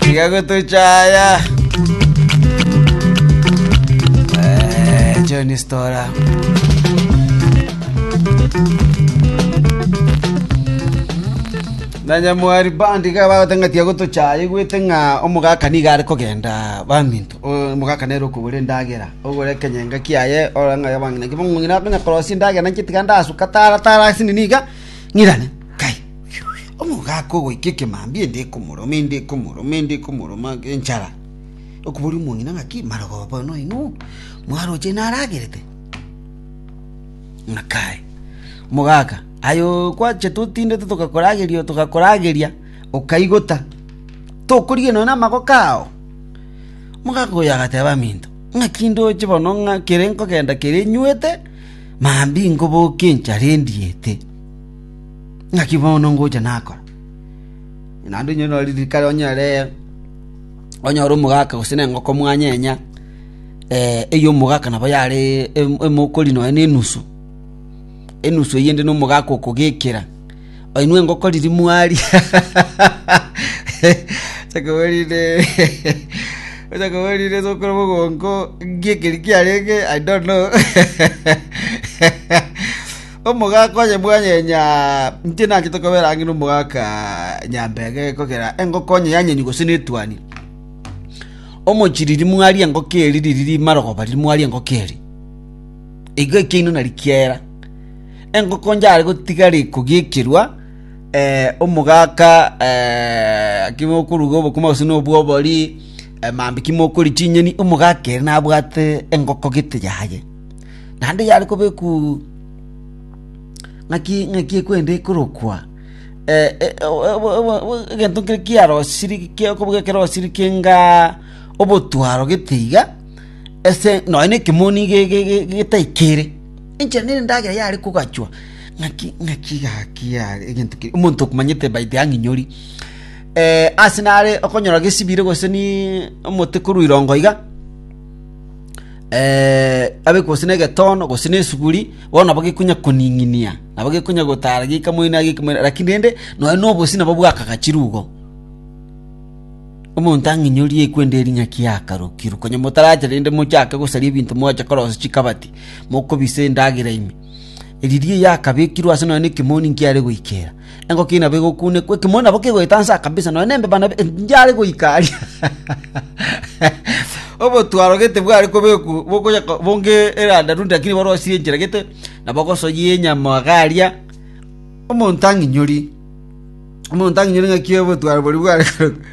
Tiga gotochaya. Eh, Johnny Stora. Na nyamwari bandi iga bagoteba ng'a tiga gotochaya igwete ng'a omogaka nigo are kogenda baminto omogaka nere okogora endagera ogore ekenyenga kiaye orore ng'a abang'ina ki bamong'ina akonya korosia endagera nainche tiga ndasuka tara tara asinini iga ng'irane kai omogaka ogoika ekemambia ende ekomoroma ende ekomoroma ende ekomoroma enchara okoboria omong'ina ng'aki marogoba bono inwe mwaroche naragerete ng'a kai omogaka Aye okwachete otindete togakorageria togakorageria, okaigota, tokorigia nonya namagoko ao. Omogaka oyo agateba aminto, ng'aki ndoche bono ng'a kere nkogenda kere nywete, mambia nkoboke enchara endiete. Ng'aki bono ngocha nakora? Naende onye nore rikare onyore onyore omogaka gose na engoko mwanyenya, eywo omogaka nabo yare emokori nonya na enusu. Enusu eyende nomogaka okogekera oinwe engoko riria mwaria chakaborire chakaborire sokoro bogonko nki ekeri kiarenge I don't know omogaka onye mwanyenya inche nachete kobera ang'e na omogaka nyambege ekogera engoko onye yanyenywa gose na etuani omochie riria mwaria engoko eria riria rimarogoba riria mwaria engoko eria. Igo ekiaino nari kiaera. Engoko njare gotigara ekogekerwa eh, omogaka eh, kimo okoruga obokima gose na obwobori eh, mambia kimo okori chinyeni omogaka ere nabwate engoko gete yaye. Naende yare kobekwa ng'aki ng'aki ekwenda ekorokwa eh, eh, egento nkere kiarosiri okobuga kerosiri kenga obotwaro gete iga. Ase nonya na ekemoni ge- ge- ge- getaikere, enchera nere endagera yare kogachwa, ng'aki ng'aki gaki yare egento keria omonto okomanyete by the ang'inyori ase nare okonyora gesibire gose ni omote korwa irongo iga, abe gose na egetono gose na esuguri, bono nabo gekonya koning'inia, nabo gekonya gotara geika moino geika moino lakini rende nonya na obosie nabo bwakagachirwe igo. Omonto ang'inyorie ekwende eria ng'aki yakarokirwe. Konya motaracha rende mochake gosaria ebinto mwacha korosia chikabati, mokobisa endagera ime. Riria yakabekirwe ase nonya na ekemoni nkiare goikera. Engoko eyio nabo egokunekwa, ekemoni nabo kegoeta nsa kabisa nonya na embeba nabo ndiare goika aria. Obotwaro gete bware kobekwa bokonya bonge erandarundi lakini borosirie enchera gete, nabo ogosoyia enyama iga aria, omonto ang'inyorie. Omonto ang'inyore ng'aki obotwaro boria bware korokwa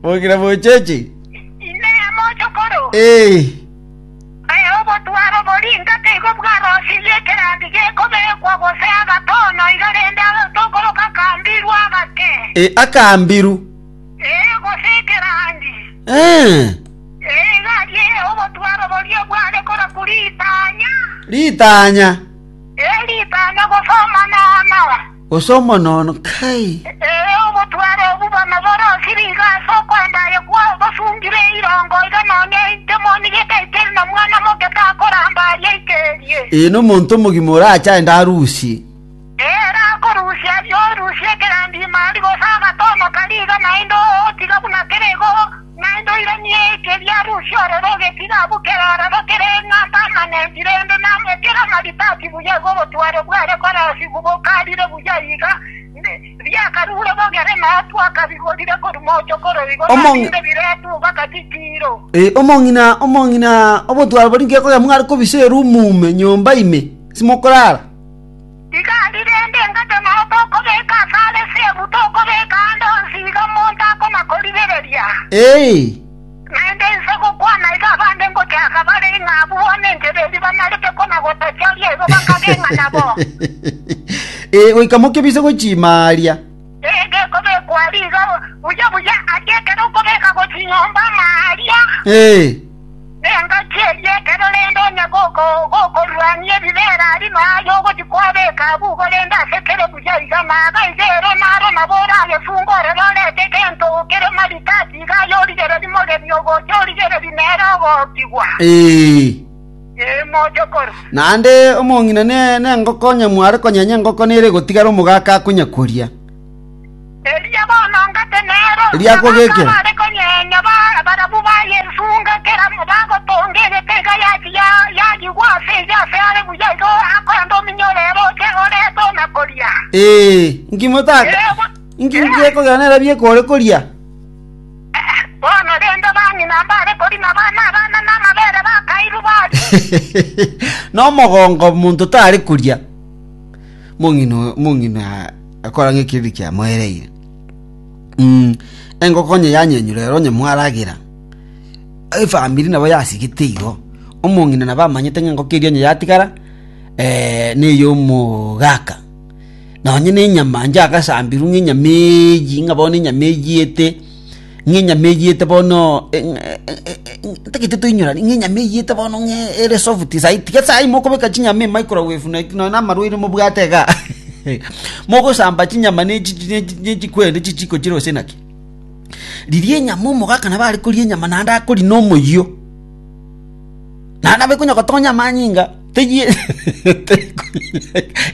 Bokira bocheche. Inee, mochokoro? Ee. Ee, obotwaro boria ingaki igo bwarosirie ekerandi gekobekwa gose agatono iga rende tokoroka akambiru agake. Ee, akambiru. Ee, gose ekerandi. Ee. Ee, iga aria obotwaro boria bware korokwa ritanya. Ritanya. Ee, ritanya gose omonono. Gose omonono, kai. Ee, obotware obwo bono borosire iga ase okoenda aye kwao, bosungire eirongo iga nonya inche monigete ekeri na mwana moke takoramba aria ikerie. Ee, nomonto omogima orache aende arusie. Ee, ere akorusia aria orusie ekerandi ime aria gose agatono karia iga naende otiga buna kere igo. Naende oiranie ekeria arusie ororo ogetiga abwo kere ororo kere ng'a permanent rende kere amaritati buya igo obotwaro bware korosigwa bokarire buya iga riakarure bogere nao twakabigorire korwa mochokoro igo nabinde biretwe mpaka chichiiro. Eh, omong'ina omong'ina obotwaro boria ngekoya mware kobisa erumu ime nyomba ime simokorara. Iga aria rende engate nao tokobeka asare ase ebu, tokobeka aande onsi iga omonto akona-korigereria. Ee. Naende inse gokwana iga abande ngochaka bare ng'a abwo bono enchera eria banarete kona-gotochoria igo bakage ng'a nabo. Ee, goika mokebise gochia aria. Ee, gekobekwa aria iga buya buya, aria ekero okobeka gochia nyomba ama aria. Ee. Nengaki eria ekero rende onye gokorwania ebibeera aria na aye ogochia kwabeka abwo igo rende ase kere buya iga na iga iga ere naro nabo orayesunge ororo orete egento kere maritati iga aye origererie mogeni ogocha origererie nere ogokigwa. Ee. Ee, mochokoro. Naende omong'ina ne nengoko onye mware konyenya engoko nere egotigara omogaka akonya koria. Erio bono ngate nere. Riakogekera. Bare konyenya barabwo bayesunga kera bagotonga egete iga yagigwa ase eyio ase are buya igo akoenda ominyore ere oche orete ona koria. Ee, nki motaka? Nki gekogera nere biekore koria? Bono rende bang'ina mbare korina abana abana namabere bakairwe baria. Nomogongo monto tare koria. Mong'ina mong'ina akora ng'ekiriri kiamoereire. Engoko onye yanyenyure ero onye mwaragera, efamiri nabo yasigete igo, omong'ina nabo amanyete ng'a engoko eria onye yatigara na eyomogaka. Nonye na enyama inche agasambirwe ng'a enyama eywo ng'a bono enyama eyiete, ng'a enyama eyiete bono ntagete toinyorane ng'a enyama eyiete bono ng'a ere soft saii tiga saii mokobeka chinyama emicrowave naki nonye na amarwaire mobwate igaa mogosamba chinyama ne chi ne chi ne chikwende chichiko chire gose naki. Riria enyama omogaka nabo are koria enyama naende akoria na omoyio, naende nabo ekonya gotonya amanyinga teyie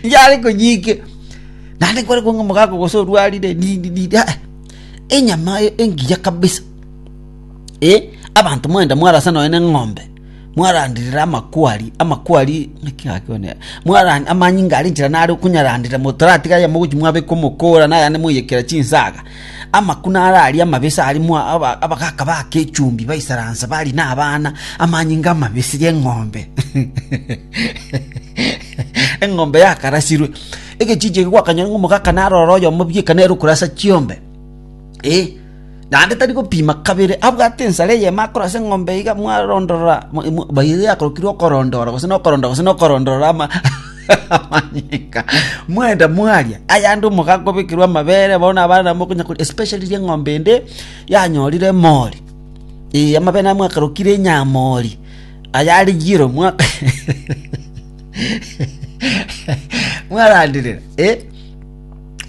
yare koyia naende nkore kong'a omogaka gose orwarire nini nini aa. Enyama engiya kabisa, eh, abanto mwagenda mwarasa nonya na eng'ombe, mwaranderera amakwari, amakwari naki gaki one mwaran amanyinga aria enchera nare okonyaranderera motaratiga ayamo gochia mwabeka omokora na ayande mwaiyekera chinsaga, amakuna are aria amabese aria mwa aba abagaka bake echumbi baisaransa baria na abana, amanyinga amabese ya eng'ombe eng'ombe yakarasirwe. Egechiicho eke gwakanyora ng'a omogaka narore oyomo bieka nere okorasa chiombe, eh, naende tari gopima kabere, abwate ensare eyemo akorasa eng'ombe iga mwarondorora mwa- mwa- by the way akorokirwe okorondora gose na okorondora gose na okorondorora ama amanyinga, mwenda mwaria, ayande omogaka obekerwe amabere bono abana nabo mokonya koria especially riria eng'ombe ende yanyorire emori, eh, amabere naye mwakarokire enyamori, ayare yellow mwaka. Mwaranderera, eh?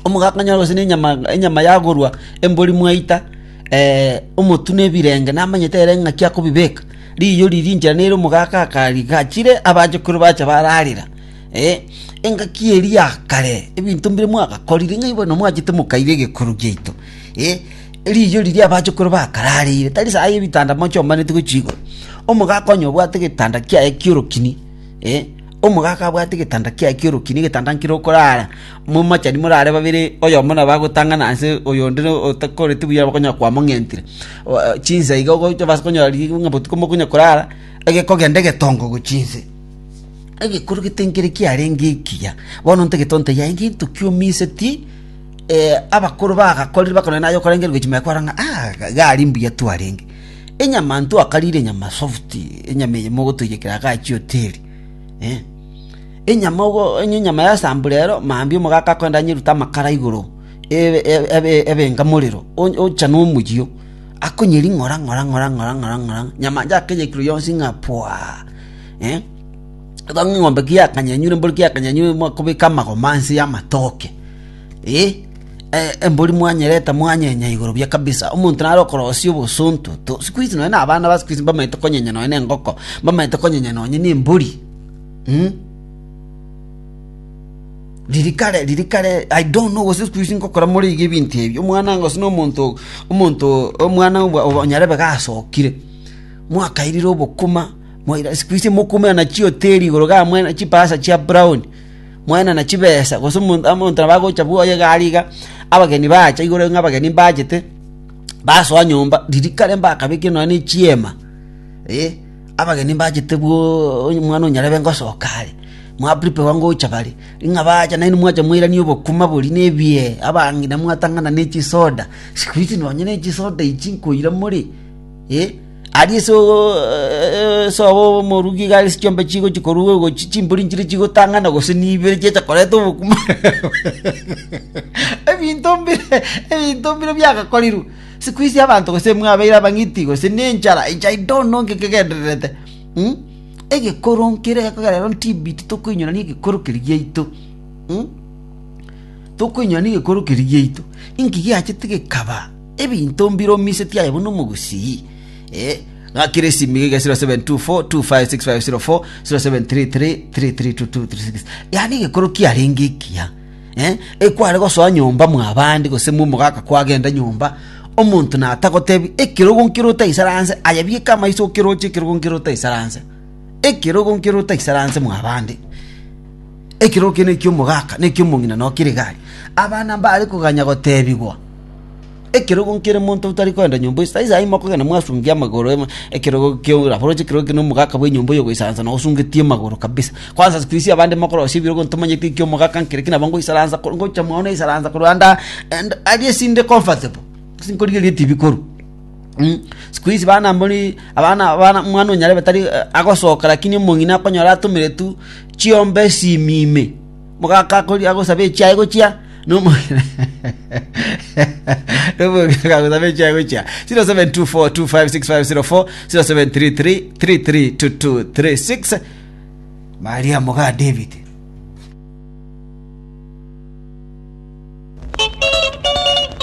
Omogaka onyore gose nenyama enyama yagorwa embori mwaita eh, omotwe na ebirenge namanyete ere ng'aki akobibeka riyo riria inchera nere omogaka akarigachire abachokoro bacha bararera eh, engaki eria ya kare ebinto mbire mwagakorire ng'ai bono mwachete mokaira egekoro giaito eh, riyo riria abachokoro bakarareire tari saii ebitanda mochombaneti gochia igoro. Omogaka onye obwate egetanda kiaye ki'orokini. Eh, omogaka abwate egetanda kiaye ki'orokini, egetanda nkere okorara, momachani morare babere, oyomo nabo agotang'ana ase oyonde na otakoreti buya bakonyora kwamong'entire. O- chinsa iga ogocha base konyora riria ng'a botuko mokonya korara, egekogenda egetongo gochia inse. Egekoro gete nkere kiarenge ekiya, bono ntagete ontebie aye ngento ki omiseti abakoro bagakorire bakorora naye okorengereria gochia mega kwarora ng'a ah gari mbuya twarenge. Enyama ntwakarire enyama soft, enyama eye mogotoiyekera igaa chihoteli eh. Enyama ogo onye enyama yasambwa rero, mambia omogaka akoenda anyerute amakara igoro, ebe ebe ebe enga morero, ocha na omoyio, akonyeria ng'ora ng'ora ng'ora ng'ora ng'ora ng'ora, nyama inche akeyekire yonsi ng'a pwaa eh. Igo ng'a eng'ombe ki yakanyenyure embori ki yakanyenyure mwakobeka amagoma nse ya amatoke eh. Embori mwanyereta mwanyenya igoro buya kabisa, omonto nare okorosia obosonto to siku hizi nonye na abana ba siku hizi mbamaete konyenya nonye na engoko, mbamaete konyenya nonye na embori mh. Riria kare riria kare I don't know gose siku hizi ngokora more iga ebinto ebi, omwana gose na omonto omonto omwana obwa onyarebe gasokire, mwakairire obokima, mwaira siku hizi mokoumera chihoteli igoro iga mwena chipasa chia brown. Mwaenana chibesa, gose omonto omonto nabo agocha bwoye iga aria iga, abageni bacha igoro ng'a abageni mbachete, basoa nyomba, riria kare mbakabekire nonya na echiema, eh, abageni mbachete bwooo onye omwana onyarebe ngosoka are, mwa prepare ngocha bare, ng'a bacha naende mwacha mwairania obokima boria na ebiee, abang'ina mwatang'ana na echisoda, siku hizi nonye na echisoda echi nkoira more, eh. Aria ase ase omorugi iga ase chiombe chigochia korwa gochia chimbori nchire chigotang'ana gose nibere chiacha koreta obokima ebinto mbire ebinto mbire biagakorirwe. Siku hizi abanto gose mwabeire abang'iti gose na enchara inche I don't know nki kegendererete mh, egekoro nkere gekogera rero ntibiti tokoinyorania egekoro keria giaito mh, tokoinyorania egekoro keria giaito, inki giachete gekaba. Ebinto mbiromisetie aye buna omogusii. Eh, ng'akere esimi iga 0724256504 0733332236 yaani egekoro kiarenge ekiya eh, ekware gosoa nyomba mwabande gose momogaka kwagenda nyomba. Omonto natagotebi ekerogo nkere otaisaranse, aye bieka amaiso okeroche ekerogo nkere otaisaranse. Ekerogo nkere otaisaranse mwabande. Ekerogo kende ekia omogaka na ekia omong'ina noo kere iga aria. Abana mbare koganya gotebigwa. Ekerogo nkere monto otari kogenda nyomba ase taiso aye mokogenda mwasungia amagoro emo ekerogo kio nabo oroche ekerogo kende omogaka bwa enyomba oyo ogoisaransa na osungetie amagoro kabisa. Kwanza siku hizi abande mokorosia ebirogo ntomanyeti eki omogaka nkere ki nabo ngoisaransa ko ngocha mwao naisaransa korwa ande aa and aria esinde comfortable ase nkorigereria etibi korwa mh. Siku hizi bana mbori abana abana omwana onyarebe tari agosoka lakini omong'ina akonyora atomeretwe chiombe esimi ime. Mogaka akoria agosaba echiaye gochia nomogina nomogina agosaba echiaye gochia 0724256504 0733332236 Maria moga David.